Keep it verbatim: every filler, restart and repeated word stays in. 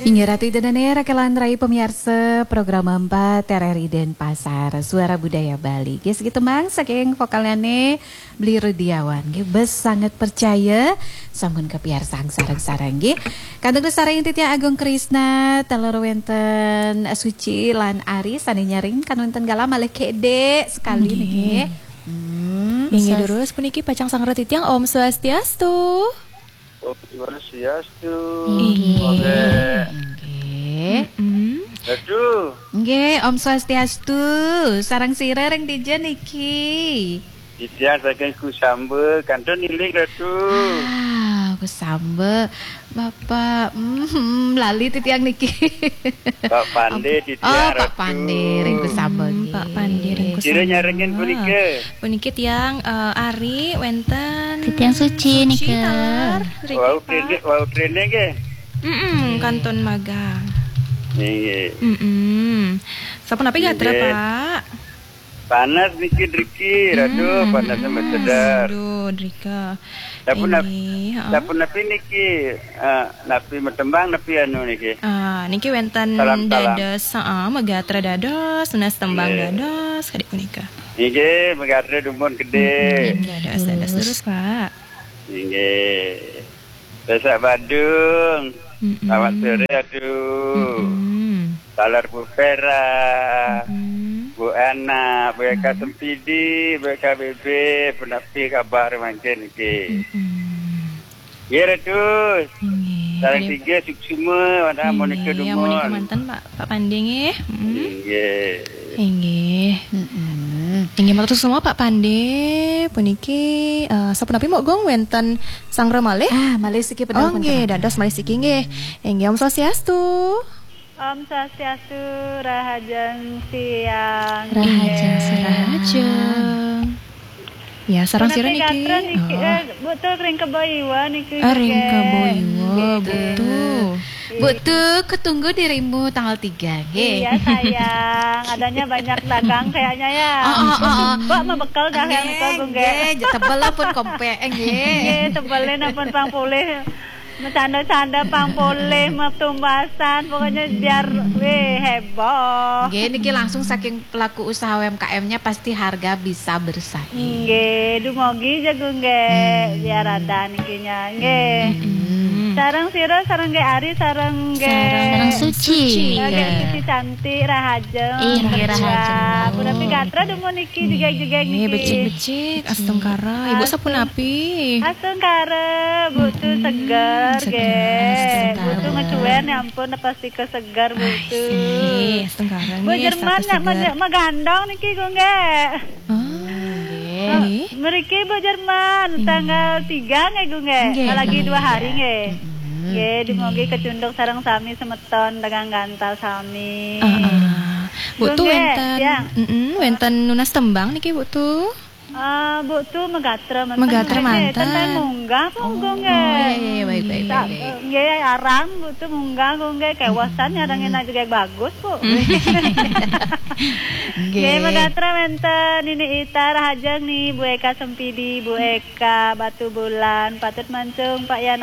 Inggih Ratu Ida Dané, rakelan rai pemiarsa program empat R R I Denpasar, Suara Budaya Bali. Nggih, segitu mang saking vokalnya nih, Bli Rudiawan. Nggih, bes sangat percaya, sampun kapiarsang sareng-sareng nggih. Kantun sareng titiang Agung Krisna, taler wénten Suci lan Ari sané nyaring kan wénten galah malih kedék sekali nggih. Nggih. Hmm, Inggih sas- terus puniki pacang sangra titiang Om Swastiastu. Om Swastiastu. Inggih. Nggih. Mm-mm. Aduh. Nggih, Om Swastiastu. Sareng sira ring dija niki? Titiang saking Kusamba, kantun iling, Ratu. Ah, Kusamba. Bapak, mm, lali titiang niki. Pak Pandé, Om- titiang, Oh, Pak Ratu. Pandé, ring Kusamba, Hmm, nggih. Pak Pandé, ring Sira Kusamba. Nyarengin punika. Puniki tiang, eh, Ari, wénten Titiang Suci, Suci nika. Taler, Riki, Wau Pak. Trending, wau trending, nggih. Mm-mm, kantun magang. Nggih. Mm-mm. Sapunapi gatra, nggih. Pak? Panas niki driki, aduh, hmm, panasnya hmm, sedar. Aduh, drika. Dapun nap-, ini, heeh. Dapun napi niki, eh, napi metembang, napi anu niki? Ah, niki wénten salam, salam. Dados, heeh, megatra dados, nunas tembang, nggih, dados, kadik punika. Nggih, megatra dumun gedé. Mm-mm, dados, dados terus, Pak. Nggih. Besok Badung. Mm-mm. Selamat sore, aduh. Mm-mm. Taler Bu Vera, mm-mm, Bu Ana, Bu Eka, mm-mm, Sempidi, Bu Eka B B, punapi kabar mangkin niki. Mm-mm. Nggih, Ratu. Nggih. Sareng tiga suksma, wanda, nggih, monika dumun. Monika manten, Pak, Pak Pandé nggih. Mm-mm. Nggih. Inggih. Mm-mm. Inggih, matur suksma Pak Pandé. Puniki, eh, sapunapi mok Gung wénten sangra malih? Ah, malih siki pedal. Oh, nggih, dados malih siki nggih. Inggih, Om Swastiastu. Om Swastiastu, rahajeng siang. Rahajeng siang. Rahajeng. Ya, sareng sira niki? Gatra niki, oh, eh, Bu Tu ring Kebo Iwa niki. Ah, ring Kebo Iwa, nggih. Bu Tu. Bu Tu, ketunggu dirimu tanggal tiga, nggih. Iya, sayang. Adanya banyak dagang kayaknya ya. Oh, oh, oh, oh. Mbok mah bekel dah yang nggih, nggih, tebel lah pun kompek, nggih. Nggih, tebelin pun pang polih. Macanda-canda pang polih, metumbasan, pokoknya biar, weh, heboh. Nggih, niki langsung saking pelaku usaha U M K M-nya pasti harga bisa bersaing. Nggih, dumogi jagung nggih, hmm, biar ada nikinya, nggih. Hmm. Sareng sira, sareng nggih Ari, sareng nggih. Sareng Suci. Sareng nggih Suci cantik, rahajeng. Ih, nggih, rahajeng. Punapi gatra dumun niki, jegeg-jegeg niki. Becik-becik, astungkara. Ibu sapunapi? Astungkara, Bu Tu seger, seger, nggih. Astungkara. Bu Tu ngecuén, ya ampun, pasti keseger, Bu Tu. Astungkara, Bu nggih, Jerman, status nak seger. Megandong niki, Gung, nggih. Ah, nggih. Mriki Bu Jerman, hmm, tanggal tiga nggih, Gung, nggih. Nggih, lagi dua hari, nggih. Mm-mm. Nggih, dumogi kecunduk sareng sami semeton dagang gantal sami. Ah, ah. Bu Tu, nggih, wénten, ya. Mm-mm, wénten nunas tembang niki, Bu Tu? Ah, Bu Tu megatra manten. Megatra manten. Ten munggah pun, oh, Gung, nggih. Oh, iya, iya, baik, baik, baik, baik. Nggih, arang Bu Tu munggah, Gung, nggih. Kewasan nyarengin aja, nggih, bagus, Bu. Nggih. Nggih, megatra wénten Nini Ita, rahajeng nih, Bu Eka Sempidi, Bu Eka Batu Bulan, patut mancung Pak Yana.